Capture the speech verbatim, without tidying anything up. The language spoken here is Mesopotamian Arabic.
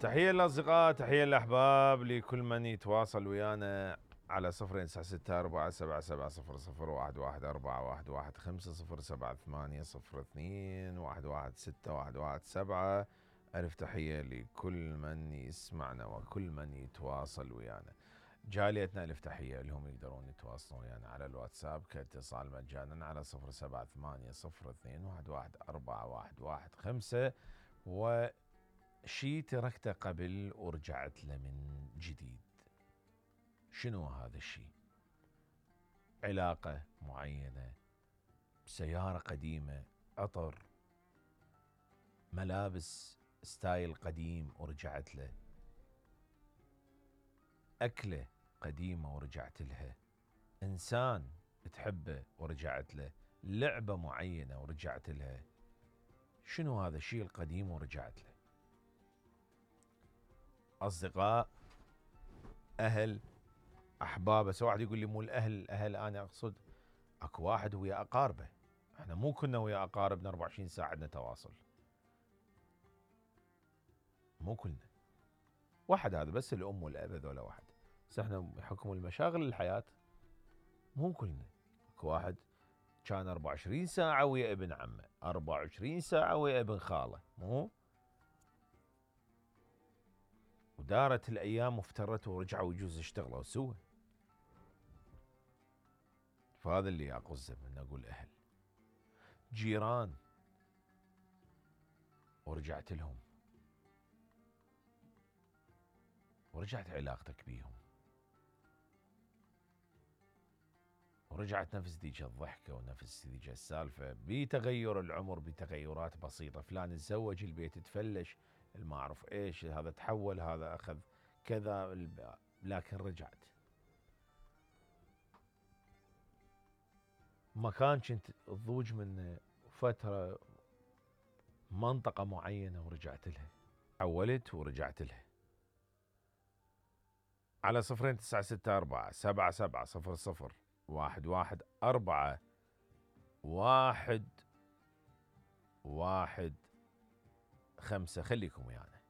تحية للأصدقاء، تحية للأحباب، لكل من يتواصل ويانا على صفرين تسعة ستة أربعة سبعة سبعة صفر صفر واحد واحد أربعة واحد واحد خمسة صفر سبعة ثمانية صفر اثنين واحد واحد ستة واحد واحد سبعة. ألف تحية لكل من يسمعنا وكل من يتواصل ويانا. جاليتنا ألف تحية لهم، يقدرون يتواصلون ويانا على الواتساب كاتصال مجانا على صفر سبعة ثمانية صفر اثنين واحد واحد أربعة واحد واحد خمسة. وشي تركته قبل ورجعت له من جديد. شنو هذا الشيء؟ علاقة معينة، سيارة قديمة، عطر، ملابس ستايل قديم ورجعت له، أكلة قديمة ورجعت لها، إنسان تحبه ورجعت له، لعبة معينة ورجعت لها. شنو هذا الشيء القديم ورجعت له؟ أصدقاء، أهل، أحباب. بس واحد يقول لي مو الأهل، الأهل أنا أقصد أكو واحد ويا أقاربه. احنا مو كنا ويا أقاربنا أربعة وعشرين ساعة عندنا تواصل، مو كلنا. واحد هذا بس الأم والأب، هذولا واحد. بس احنا بحكم المشاغل الحياة مو كلنا. اكو واحد كان أربعة وعشرين ساعة ويا ابن عمه، أربعة وعشرين ساعة ويا ابن خاله، مو ودارت الأيام وافترت ورجعوا يجوز اشتغلوا سوا. فهذا اللي أقصده من أقول أهل. جيران ورجعت لهم ورجعت علاقتك بيهم، ورجعت نفس ذيك الضحكة ونفس ذيك السالفة، بتغير العمر، بتغيرات بسيطة. فلان تزوج، البيت تفلش، ما أعرف إيش، هذا تحول، هذا أخذ كذا، لكن رجعت. مكان كنت تضوج من فترة، منطقة معينة ورجعت لها، حولت ورجعت لها. على صفرين تسعة ستة أربعة سبعة سبعة صفر صفر واحد واحد أربعة واحد واحد خمسة. خليكم ويانا.